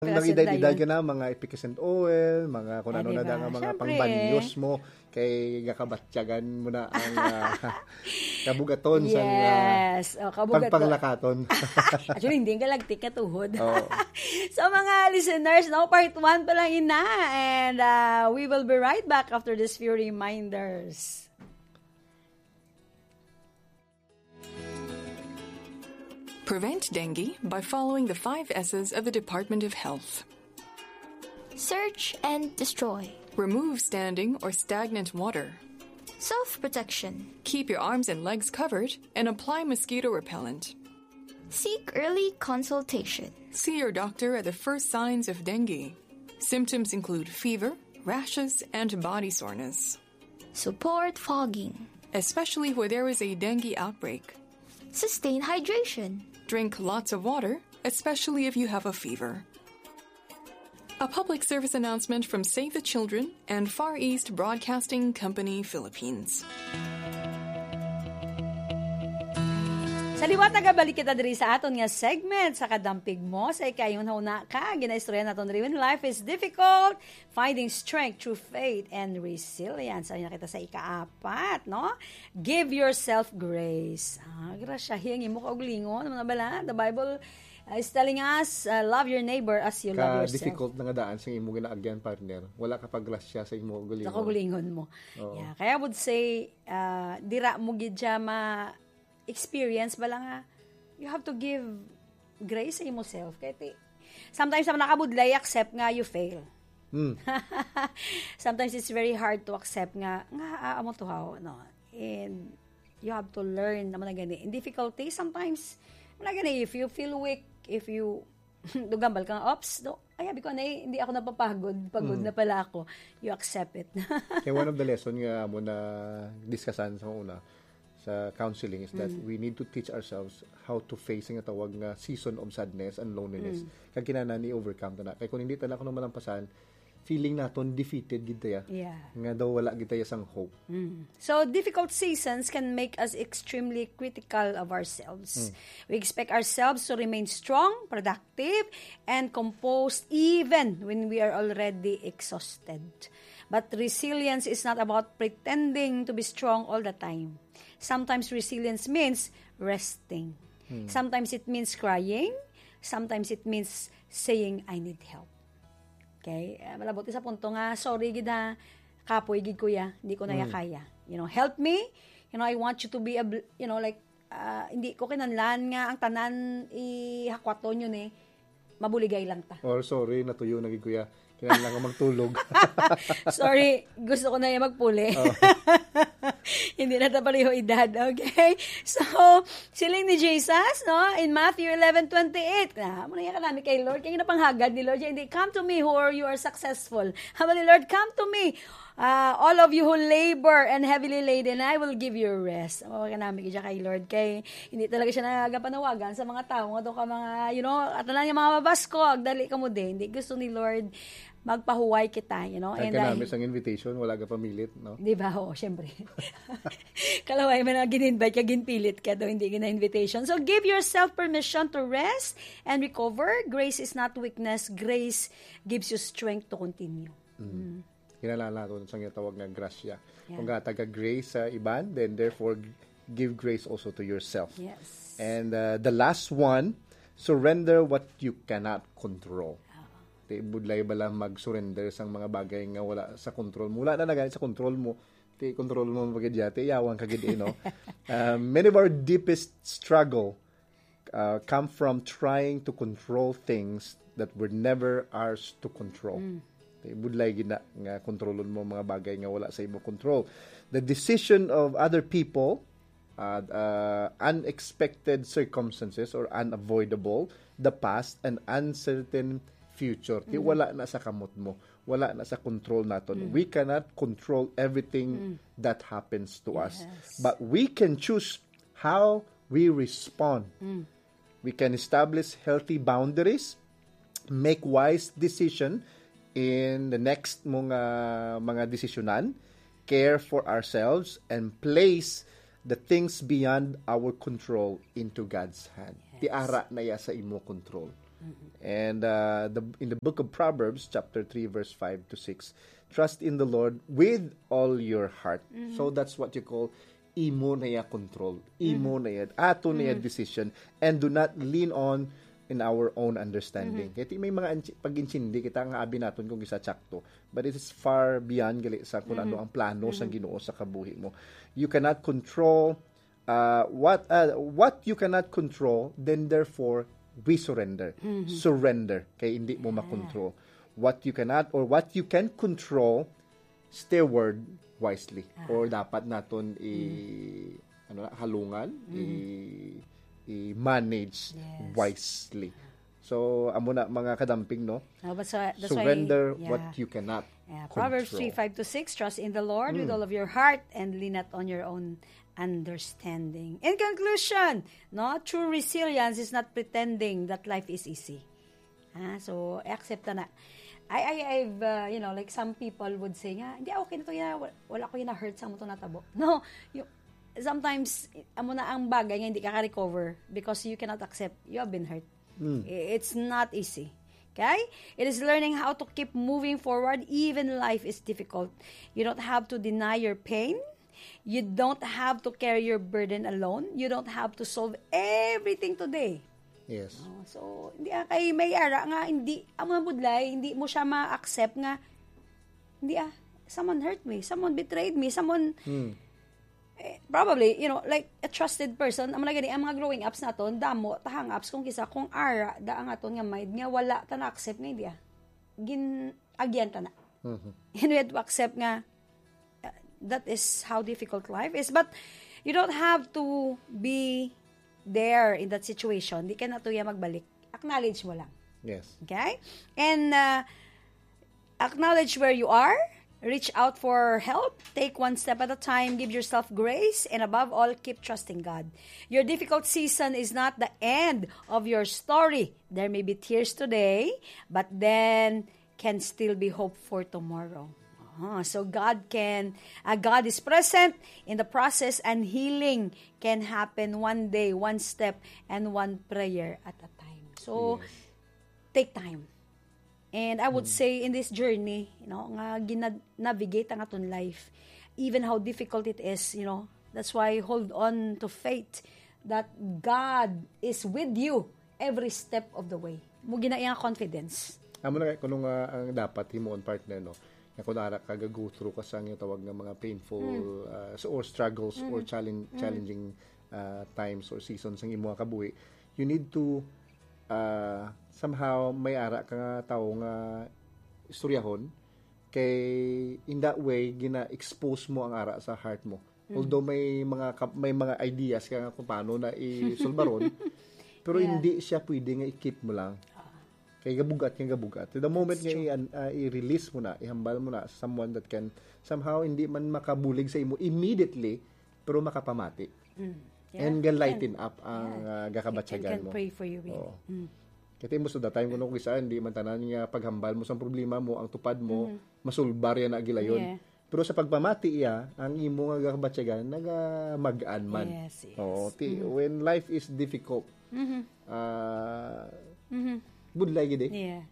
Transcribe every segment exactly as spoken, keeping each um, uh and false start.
Ang edad-edad ka na, mga efficascent oil, mga kung ano na da nga mga pangbanyos mo, kay gakabatyagan mo na ang, ah, kabugaton sa, ah, Yes. Oh, kabugaton. Pagpanglakaton. Actually, hindi ka lagtik ka tuhod. Oo. So, mga listeners, no, part one pa lang ina. And, ah, we will be right back after these few reminders. Prevent dengue by following the five S's of the Department of Health. Search and destroy. Remove standing or stagnant water. Self-protection. Keep your arms and legs covered and apply mosquito repellent. Seek early consultation. See your doctor at the first signs of dengue. Symptoms include fever, rashes, and body soreness. Support fogging. Especially where there is a dengue outbreak. Sustain hydration. Drink lots of water, especially if you have a fever. A public service announcement from Save the Children and Far East Broadcasting Company Philippines. Sa liwat, nagabalik kita diri sa aton nga segment sa Kadampig Mo. Sa ikayong huna ka, ginaistorya naton diri, when life is difficult, finding strength through faith and resilience. Ay na kita sa ikaapat, no? Give yourself grace. Ah, grasyahi ang imo kaugalingon. Ano na bala? The Bible, uh, is telling us, uh, "Love your neighbor as you love yourself." Ka-difficult na nga daan sa imo ginaagyan, partner. Wala ka pag grasya sa imo kaugalingon. Sa kaugalingon mo. Oo. Yeah. Kaya I would say, uh, dira mo gid siya ma- experience bala nga you have to give grace sa imo self. Kaya ti, sometimes ang nakabudlay, accept nga you fail. Hmm. Sometimes it's very hard to accept nga, nga, ah, amo to, how, no? And you have to learn naman na gani. In difficulty, sometimes, naman na gani, if you feel weak, if you Dugambal ka nga, "Ops, do, ay, abi ko na, eh, hindi ako napapagod. Pagod Mm. na pala ako." You accept it. Kaya one of the lesson nga mo na discussan sa una, sa counseling, is that Mm. we need to teach ourselves how to face nga tawag nga season of sadness and loneliness. Mm. Kag kinahanglan i-overcome ta na. Kay kung hindi ta na kuno malampasan, feeling naton defeated gid ta ya. Yeah. Nga daw wala gid ta ya sang hope. Mm. So, difficult seasons can make us extremely critical of ourselves. Mm. We expect ourselves to remain strong, productive, and composed even when we are already exhausted. But resilience is not about pretending to be strong all the time. Sometimes resilience means resting. Mm. Sometimes it means crying. Sometimes it means saying, "I need help." Okay? Eh, malabot sa punto nga, "Sorry gid ha, kapoy gid ko ya, hindi ko na ya Mm. kaya. You know, help me. You know, I want you to be a bl-," you know, like, ah, "Hindi ko kinahanglan nga ang tanan ihakwaton yun eh. Mabuligay lang ta." Or, "Sorry, natuyo na gid ko ya. Kinahanglan ko magtulog." Sorry, gusto ko na ya magpuli. Oh. Hindi na ta pareho edad, okay? So, siling ni Jesus, no, in Matthew eleven twenty-eight, na, amo na ya kanami kay Lord, kay ginapanghagad ni Lord, hindi, "Come to me who are, you are successful." Amo ni Lord, "Come to me, ah, all of you who labor and heavily laden, I will give you rest." Amo kanami gid siya kay Lord, kay hindi talaga siya nagapanawagan sa mga tawo nga to ka mga, you know, at lang yung mga mabaskog, dali ka mo din. Hindi gusto ni Lord magpahuway kita, you know. Ang And kanami I sang invitation, wala ka pamilit, no? Di ba? Oo, syempre. Kalaway man ang gin-invite ka, ginpilit ka daw, hindi gina-invitation. So, give yourself permission to rest and recover. Grace is not weakness. Grace gives you strength to continue. Mm. Mm. Kinahanglan naton sang tawag nga grasya. Yeah. Kung gatag ka grace sa iban, then therefore give grace also to yourself. Yes. And, uh, the last one, surrender what you cannot control. Ah. Ti budlay bala mag-surrender sang mga bagay nga wala sa control mo. Wala na na gani sa control mo. Ti control mo pa gid ya, ti yawan ka gid, eh, no? Uh, many of our deepest struggle, uh, come from trying to control things that were never ours to control. Mm. Ti budlay gid na nga kontrolon mo mga bagay nga wala sa imo control. The decision of other people, uh, uh, unexpected circumstances or unavoidable, the past, and uncertain future. Ti Mm. wala na sa kamot mo, wala na sa control naton. Mm. We cannot control everything Mm. that happens to us. Yes. But we can choose how we respond. Mm. We can establish healthy boundaries, make wise decision in the next mga, mga desisyonan, care for ourselves, and place the things beyond our control into God's hand. Yes. Ti ara na ya sa imo control. And uh, the, in the book of Proverbs, chapter three, verse five to six, "Trust in the Lord with all your heart." So that's what you call imo na iya control. Imo na iya. Ato na iya decision. And do not lean on in our own understanding. Kaya may mga ansi- pag-insindi kita nga abi naton kung isa tsakto. But it is far beyond gali sa kung ano ang plano sang Ginoo sa kabuhi mo. You cannot control uh, what uh, what you cannot control, then therefore we surrender. Surrender kay hindi mo makontrol. What you cannot or what you can control, steward wisely. Or dapat naton i ano na, halungan, i i-manage Yes. wisely. So amo na, mga kadamping, no? No, but so, that's why, Surrender yeah. what you cannot Yeah, Proverbs control. three, five to six, "Trust in the Lord with all of your heart and lean not on your own understanding." In conclusion, no, true resilience is not pretending that life is easy. Ah, so, accept na. I, I, I've, uh, you know, like, some people would say nga, "Hindi, okay na to, ya, wala, wala ko yung na-hurt sa mo to natabo." No, you, sometimes, amo na ang bagay nga hindi ka ka-recover because you cannot accept you have been hurt. I- It's not easy. Okay? It is learning how to keep moving forward even life is difficult. You don't have to deny your pain. You don't have to carry your burden alone. You don't have to solve everything today. Yes. Oh, so, hindi ah, kay may ara nga, hindi, ang mga budlay, hindi mo siya ma-accept nga, hindi ah, someone hurt me, someone betrayed me, someone, Hmm. eh, probably, you know, like a trusted person, amo na gani, ang mga growing ups naton, damo, ta hang-ups, kung kisa, kung ara, da ang aton nga mind, nga wala ta na-accept nga, hindi ah, gin-agyan ta na. Mhm. And we have to accept nga, uh, that is how difficult life is. But you don't have to be there in that situation. Di ka na tuya magbalik. Acknowledge mo lang. Yes. Okay? And uh, acknowledge where you are. Reach out for help. Take one step at a time. Give yourself grace. And above all, keep trusting God. Your difficult season is not the end of your story. There may be tears today, but then can still be hope for tomorrow. Ah, so God can, uh, God is present in the process, and healing can happen one day, one step, and one prayer at a time. So, Yes. take time. And I would Mm. say in this journey, you know, nga gina-, navigate ang aton life, even how difficult it is, you know, that's why hold on to faith that God is with you every step of the way. Mo gina-, iya nga confidence. Amo na kay kuno nga ang dapat himuon, partner, no? Nga kung ara ka ga-go through ka sa nga tawag nga mga painful, Mm. uh, so, or struggles or Mm. challenge, Mm. challenging, uh, times or seasons ang imo nga kabuhi, you need to, uh, somehow may ara ka nga tawo nga istoryahon, kay in that way gina-expose mo ang ara sa heart mo. Mm. Although may mga ka-, may mga ideas ka nga kung paano na isulbaron, pero Yeah. hindi siya pwede nga i-keep mo lang. Ah. Kay gabugat nga gabugat. To the moment nga That's true. i-, an-, ah, i-release mo na, ihambal mo na sa someone that can somehow hindi man makabulig sa imo immediately, pero makapamati. Mm. Yeah. And ga-lighten Can, up ang, yeah. ah, gakabatyagan Can mo. pray for you, really. Oo. Mm. Kaya most of the time, kung kisa, hindi man tanan nga paghambal mo sa problema mo, ang tupad mo, Mhm. masulbar yan na gilayon. Yeah. Pero sa pagpamati iya, ang imo nga gakabatyagan, nagamag-an man. Yes, yes. Oo, ti-, Mhm. when life is difficult, Mhm. ah, Mhm. budlay gid eh. Yeah.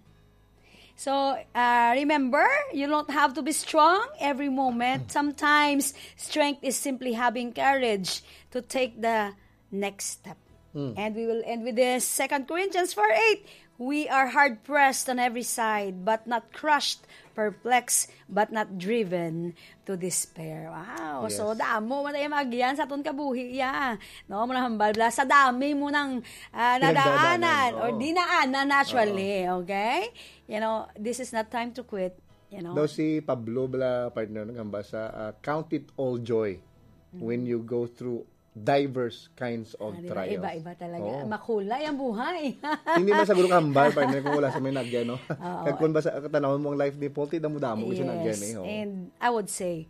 So, uh, remember, you don't have to be strong every moment. Sometimes, strength is simply having courage to take the next step. Mm. And we will end with this, Second Corinthians four eight. "We are hard-pressed on every side, but not crushed, perplexed, but not driven to despair." Wow. So, Yes. damo man tayo mag-, yan sa aton kabuhi, ya. No, mo nang hambal bala sa dami mo nang, ah, Pinagdaanan, nadaanan or oo. dinaanan, actually, Oo. okay? You know, this is not time to quit, you know? Daw si Pablo bala, partner, naghambal sa, ah, "Count it all joy Mm. when you go through diverse kinds of Ah, di ba? trials." Iba-iba talaga. Oo. Makulay ang buhay. Hindi man siguro kahambal, partner, kung wala sa may nagyan, no? Oo. Kag kung basa, katanawon mo ang life ni Paul, ti damo-damo siya Yes. nagyan, eh, oo. And I would say,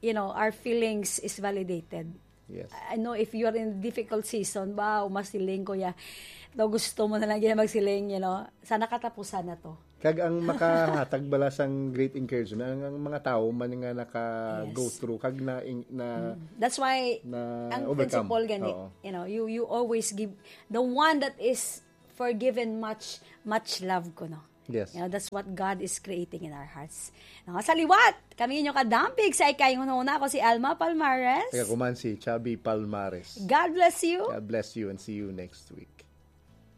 you know, our feelings is validated. Yes. I know if you're in difficult season, wow, masiling ko ya. Daw gusto mo na lang yan magsiling, you know, sana katapusan na to. Kag ang makahatag bala sang great encouragement, ang, ang mga tao man nga naka-go Yes. through, kag na, na Mm. That's why, na ang overcome. principle gani, Oo. you know, you, you always give, the one that is forgiven much, much love ko, no? Yes. You know, that's what God is creating in our hearts. No, sa liwat, kami inyo kadampig sa ikay hunahuna. Ako si Alma Palmares. Kaya kuman si Chubby Palmares. God bless you. God bless you and see you next week.